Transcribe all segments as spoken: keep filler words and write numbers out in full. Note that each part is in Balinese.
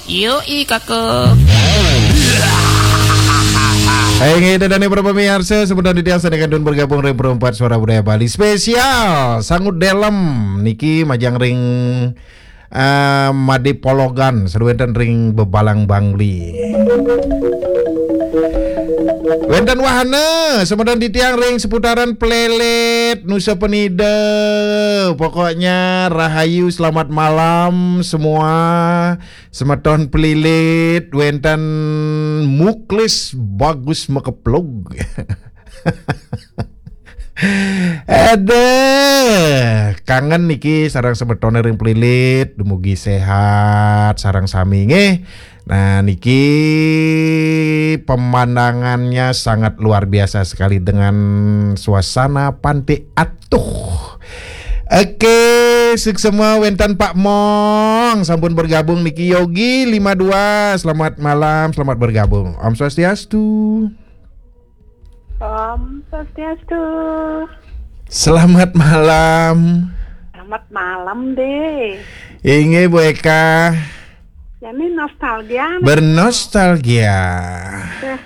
Yoi, Kakak. Hai, nggih, Ida dané para pamiarsa, semeton titiang sané kantun bergabung ring Perempat Suara Budaya Bali spesial Sangut Delem niki majeng ring, eh, Madé Pologan, sané wénten ring Bebalang Bangli. Wénten wahana, semeton titiang ring seputaran Plelit, Nusa Penida. Pokoknya rahayu, selamat malam semua. Semeton Plilit, wénten Muklis Bagus Makeplug. Aduh, kangen niki sareng semetoné ring Plilit, dumugi séhat sareng sami nggih. Nah, niki pemandangannya sangat luar biasa sekali dengan suasana Pantai Atuh. Oke, suksma wénten Pak Mong, sampun bergabung niki. Yogi lima dua, selamat malam, selamat bergabung. Om Swastiastu. Om Swastiastu. Selamat malam. Selamat malam, Dé. Inggih, Bu Eka. Jani nostalgia, nah. Bernostalgia. Dah.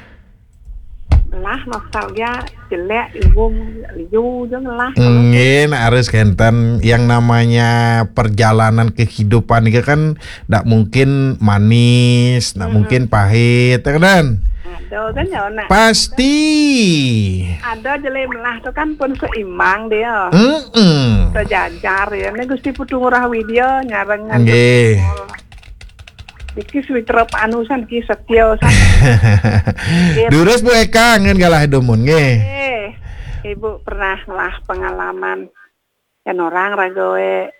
Lah, nostalgia jelék, ibu liu je ngelah. Nggih, nak harus kénten. Yang namanya perjalanan kehidupan itu kan ndak mungkin manis, ndak Mm-mm. mungkin pahit, ya kan? Ada kan ya, nak? Pasti. Ada jelék melah tu kan pun seimbang dia. Mm-mm. Sejajar ya. Ini Gusti Putu Ngurah Widya nyareng ngantuk. Nggih. Niki Switra Panusan ki setia san. Nggih. Durus Bu Eka, ngen galah dumun nggih. Eh, Ibu pernah ngelah pengalaman. Yan orang raga wé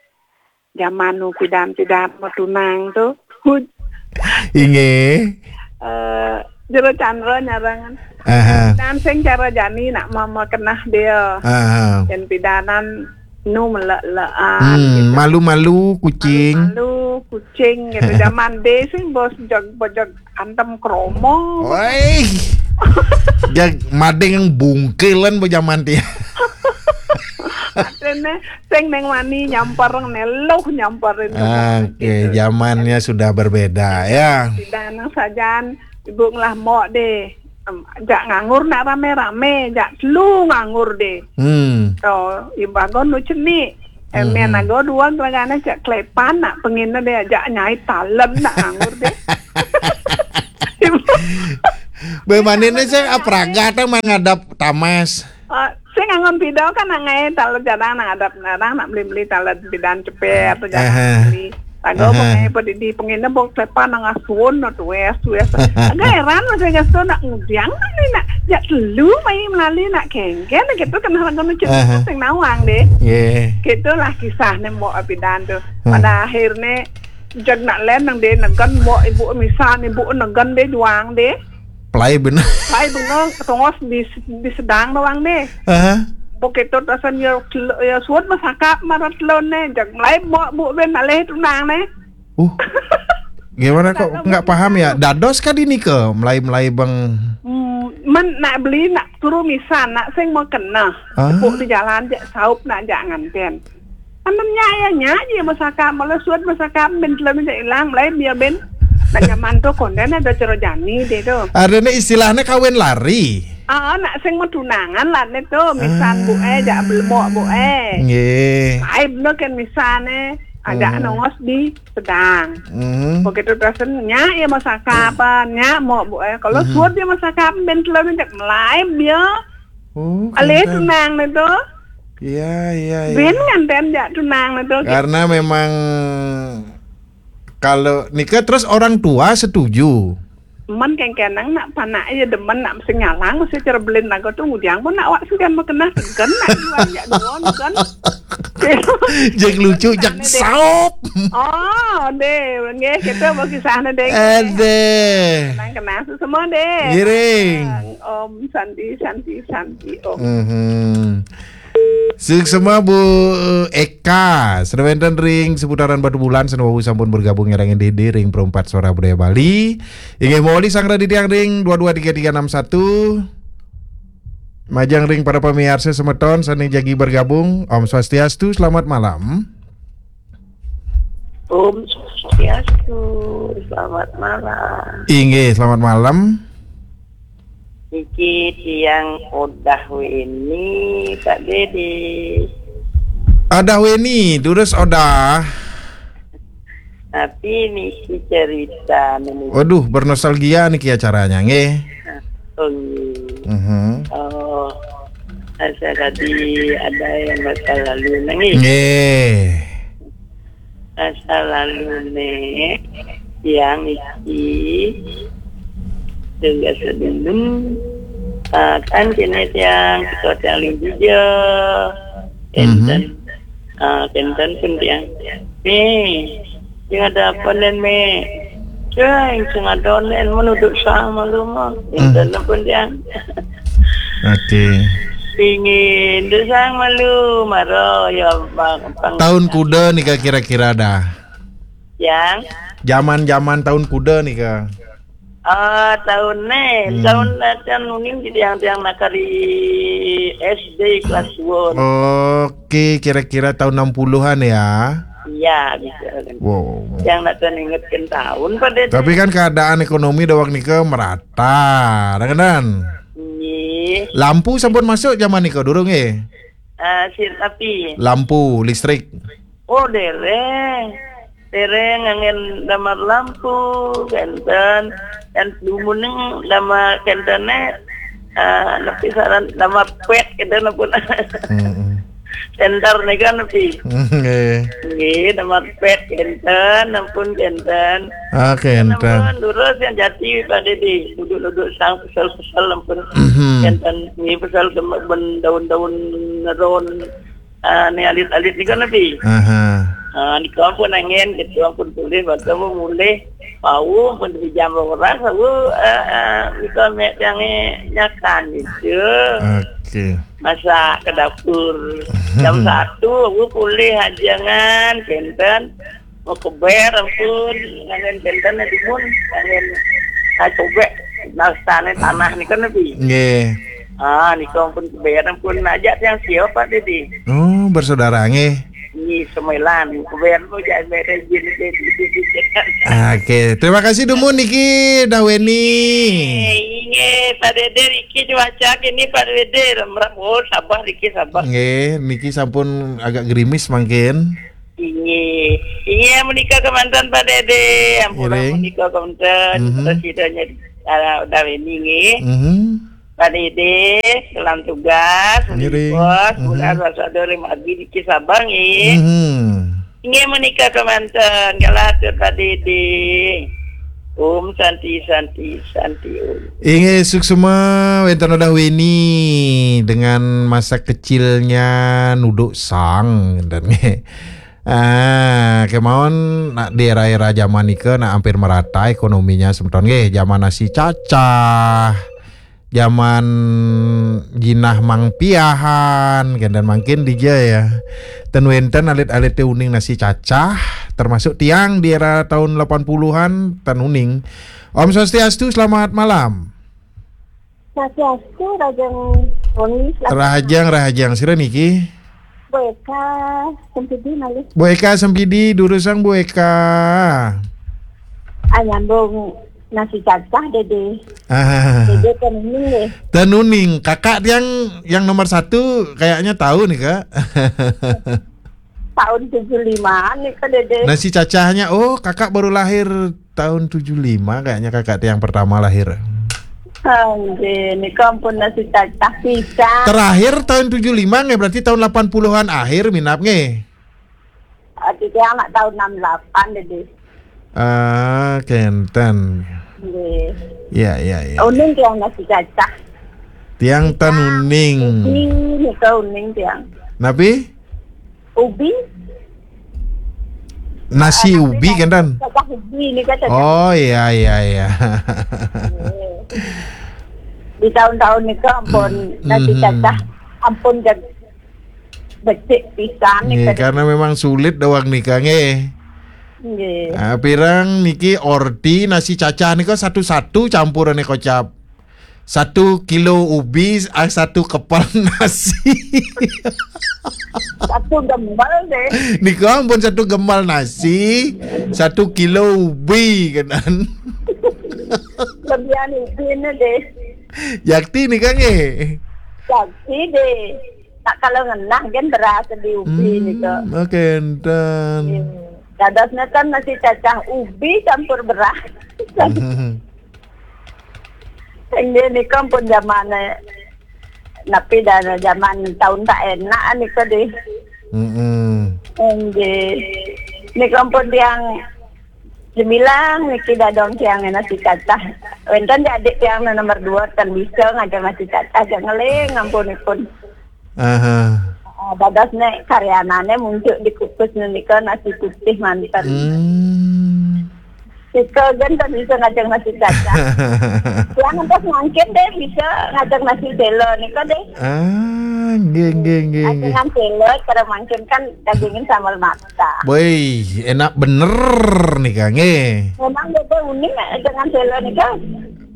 jaman nu pidan-pidan mau tunang tu. Hut. Inggih. Eh, Jero Chandra nyarangan. Aha. Dan sing cara jani nak mama kenah dia. Aha. Yan pidanan nu melek-lekan. Hmm, gitu. Malu-malu kucing. Malu kucing gitu. Jaman dé sing bos jog bojog antem kromo. Woi. Jag mading bungkilan bu jaman dia. Artinya sing neng wani nyamper, neng luh nyamperin. Oke, gitu. Zamannya sudah berbeda ya. Tidak nang sajan ibu ngelah mok deh. Em, jak nganggur nak rame-rame, jak telu nganggur deh. Hmm. To, ibagon nu cenik. Emen ago dua gelagane jak klepan nak pengine deh, jak nyai talen nak nganggur deh. Bemane ne sing apraga ta menghadap tamas. Ah, sing angon pidau kan nak ngai talen jadang nak ngadap, nak beli-beli talen pidan ceper tu jadang beli. Tago bok ngai pedidi pengine bok klepan nang asuon no tues, tues. Agak heran masih gasto nak ngudiang ni nak jak telu mai melali nak kengken gitu kan nak ngono cerita sing nawang deh. Nggih. Gitulah kisah ne mbok pidan tu. Pada akhirnya jag nak len nang deh negen mbok ibu misan ibu negen deh juang deh. Pelai bener. Pelai bener, tongos di, di sedang doang deh. Aha. Begitu tasan ya, ya suat masakap marat lon ne, jag melai mbok bu ben alih tunang ne. Uh. Gimana kok nggak paham ya? Dados kadi nika melai-melai bang. Hmm, men nak beli nak turu misan nak sing mau kena. Ah. Tepuk di jalan jak saup nak jak nganten. Amen nya ya nya je masakap, malah suat masakap ben telah minta ilang melai dia ben. Nak nyaman tu konden ada cara jani deh tu. Ada ni istilahnya kawin lari. Ah, nak sing mau tunangan lah ni tu, misan bu eh jak belmok bu eh. Nggih. Ai bener kan misan eh. Ajak nongos di sedang. Hmm. Begitu tasen nya ya masakap, nya mau bu eh. Kalau suat dia masakap ben telah minta melai dia. Oh, alih tunang ni tu. Iya, iya, iya. Ben nganten jak tunang ni tu. Karena memang kalau nikah terus orang tua setuju. Men kengkenang nak panak ya demen nak mesti nyalang mesti cara belin lagu tu ngudiang pun nak wak sugan mau kena segen nak jual jak dua kan. Jeg lucu, jeg saup. Oh, deh, nggih kita mau kisah deh. Ada. Kenang kenang semua deh. Giring. Om Santi, Santi, Santi, Om. Mhm. Suksma Bu Eka, sané wénten ring seputaran Batubulan, sané wau sampun bergabung nyarengin diri ring Perempat Suara Budaya Bali. Inggih mawali sang raditya ring dua dua tiga tiga enam satu. Majeng ring para pamiarsa semeton sané jagi bergabung. Om Swastiastu, selamat malam. Om Swastiastu. Swastiastu, selamat malam. Inggih, selamat malam. Niki tiang Odah Weni, Pak Dede. Odah Weni, durus Odah. Tapi niki cerita niki. Waduh, bernostalgia niki acaranya, nggih. Oh, nggih. Mhm. Oh, saya tadi ada yang masa lalu nangis. Nggih. Masa lalu nih, tiang iki juga sedendem, ah, kan kene tiang, kita tiang ling juga. Mhm. Enten, ah, enten pun tiang. Nih, sing ada apa nen, Me? Ceng, sing ada nen, menuduk sang malu mah. Hmm. Enten pun tiang. Oke. Pingin dusang malu, maro ya, Bang, Bang. Tahun kuda nika kira-kira dah? Yang? Zaman-zaman tahun kuda nika. Ah, tahun ne, hmm, tahun, eh, tahun uning di tiang-tiang nakari S D kelas dua. Oke, kira-kira tahun enam puluhan ya? Iya, bisa. Wow. Yang nak tuan ingatkan tahun pada. Tapi kan keadaan ekonomi dawak nika merata, dah kan? Nggih. Lampu sampun masuk zaman nika durung, eh? Ah, si tapi. Lampu listrik. Oh, dereng. Dereng nganggen damar lampu, kenten. Dan dumuning damar kentene, ah, nepi saran damar pet, kenten pun. Mm-mm. Center nika nepi. Nggih. Nggih, damar pet, kenten, ampun, kenten. Ah, kenten. Ampun, durus yang jati, Pak Dede. Duduk-duduk sang, pesel-pesel, ampun. Mhm. Kenten, nggih, pesel dem-, ben daun-daun neron. Ah, ni alit-alit nika nepi. Aha. Ah, nika ampun angin, gitu, ampun pulih, batu ampun mulih. Bau ampun di jam orang, bau, ah, ah, nika mek yang nyakan gitu. Oke. Masak ke dapur. Jam satu, bau pulih ajengan, kenten. Mau keber, ampun, angin kenten, timun, angin, ah, cobek, nastane tanah nika nepi. Nggih. Ah, nika ampun keber, ampun ajak yang siapa tadi? Oh, bersaudara, nggih. Nggih, semelan, keber, oh, jangan merek jenis, jenis, jenis, jenis. Oke, terima kasih dumun niki, Dah Weni. Eh, inggih, Pak Dede, Riki cuaca kini, Pak Dede, remrap, oh, sabar, Riki, sabar. Nggih, niki sampun agak gerimis mangkin. Inggih. Inggih, menika kemanten, Pak Dede. Ampura. Ngiring. Menika kemanten. Mhm. Presidennya, ah, Dah Weni, nggih. Mhm. Pak Dede, dalam tugas, ngiring. Bos, mhm. Bulan Rasador, Rim Abi, Diki Sabang, nggih. Mhm. Inggih, menika kemanten. Galah atur, Pak Dede. Om Santi, Santi, Santi, Om. Inggih, suksma wenten Dah Weni dengan masa kecilnya nuduk sang, dan nggih. Ah, kemawon nak di era-era zaman nika nak hampir merata ekonominya semeton nggih. Zaman nasi cacah, zaman jinah mang piahan, kenten mangkin dija ya. Ten wenten alit-alite uning nasi cacah, termasuk tiang di era tahun delapan puluhan ten uning. Om Swastiastu, selamat malam. Swastiastu, Rahajeng Roni, selamat. Rahajeng, Rahajeng. Sira niki? Bu Eka Sempidi malih. Bu Eka Sempidi, durusang Bu Eka. Ah, nyambung nasi cacah, Dede. Ah. Dede Tenuning, deh. Tenuning. Kakak yang, yang nomor satu kayaknya tahu nih, Kak. Tahun tujuh limaan nih, Kak Dede. Nasi cacahnya, oh, kakak baru lahir tahun tujuh lima, kayaknya kakak yang pertama lahir. Ah, nggih, nika ampun nasi cacah pisan. Terakhir tahun tujuh lima nggih, berarti tahun delapan puluhan akhir minab nggih. Ah, tiang nak tahun enam delapan, Dede. Ah, kenten. Nggih. Ya, ya, ya. Uning tiang nasi cacah. Tiang ten uning. Ubi, nika uning tiang. Napi? Ubi. Nasi, ah, ubi, kenten. Cacah ubi nika, cacah. Oh, iya, iya, iya. Nggih. Di tahun-tahun nika ampun, nasi, mhm, cacah ampun jag-, becik pisan nih, nggih, kadang. Karena memang sulit dawang nika, nggih. Nggih. Ah, pirang niki orti nasi cacah nika satu-satu campurane kocap. Satu kilo ubi, ah, satu kepal nasi. Satu gembal deh. Nika ampun satu gembal nasi, satu kilo ubi kenan. Lebihan ubi ini deh. Yakti nika nggih. Yakti deh. Tak kalau ngenah kan beras di ubi nika. Hmm, oke, enten. Iya. Dadosnya kan nasi cacah ubi campur beras. Hmm. Inggih nika pun zaman, eh, napi dah zaman tahun tak enak nika deh. Mm-mm. Inggih. Nika pun tiang gemilang niki dadong tiang nasi cacah. Wenten di adik tiang nomor dua kan bisa ngajeng nasi cacah, aja ngeling ampunipun. Aha. Ah, dados nek karyanane muncul dikukus nika nasi putih manten. Hmm. Sika gen kan bisa ngajeng nasi cacah. Yang atas mangkin deh bisa ngajeng nasi selo nika deh. Ah, nggih, nggih, nggih, nggih. Ajengan selo, cara mangkin kan dagingin sambal mata. Boy, enak bener nih, Kang. Eh. Memang beda uning ajengan selo nika.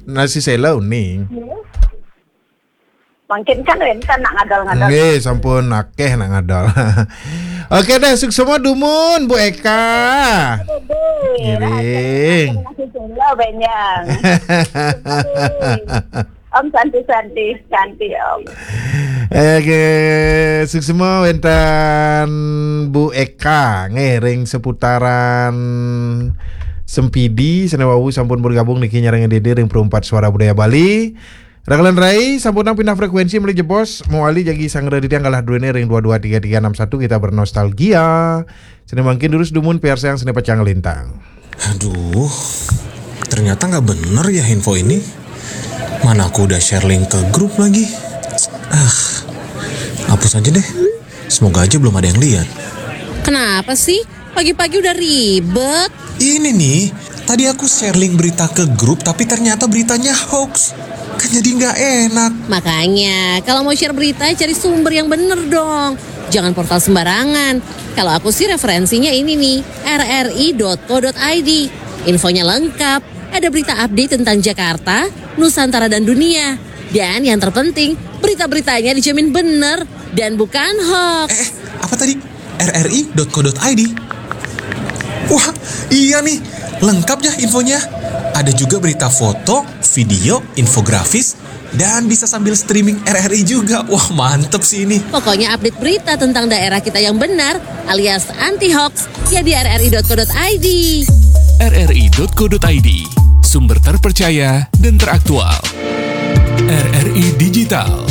Nasi selo uning. Iya. Mangkin kan wenten nak ngadol-ngadol. Nggih, sampun akeh nak ngadol. Oke deh, suksma dumun, Bu Eka. Aduh, ngiring. Nasi selo benjang. Om santi-santi, santi Om. Oke, suksma wenten Bu Eka ngiring seputaran Sempidi, sane wau sampun bergabung niki nyarengin Dede ring Perumpat Suara Budaya Bali. Rakalan rai, sampunang pindah frekuensi malih jebos, mawali jagi sangra titiang galah druene ring dua dua tiga tiga enam satu, kita bernostalgia. Sane mangkin durus dumun piarsayang sane pacang lintang. Aduh, ternyata nggak bener ya info ini. Mana aku udah share link ke grup lagi. Ah, hapus aja deh. Semoga aja belum ada yang lihat. Kenapa sih? Pagi-pagi udah ribet. Ini nih, tadi aku share link berita ke grup, tapi ternyata beritanya hoax. Kan jadi nggak enak. Makanya, kalau mau share berita, cari sumber yang bener dong. Jangan portal sembarangan. Kalau aku sih referensinya ini nih, R R I dot co dot I D. Infonya lengkap, ada berita update tentang Jakarta, Nusantara dan dunia. Dan yang terpenting, berita-beritanya dijamin bener dan bukan hoax. Eh, eh, apa tadi? R R I dot co dot I D. Wah, iya nih, lengkap ya infonya. Ada juga berita foto, video, infografis, dan bisa sambil streaming R R I juga. Wah, mantep sih ini. Pokoknya update berita tentang daerah kita yang benar alias anti hoax ya di R R I dot co dot I D. R R I dot co dot I D, sumber terpercaya dan teraktual. R R I Digital.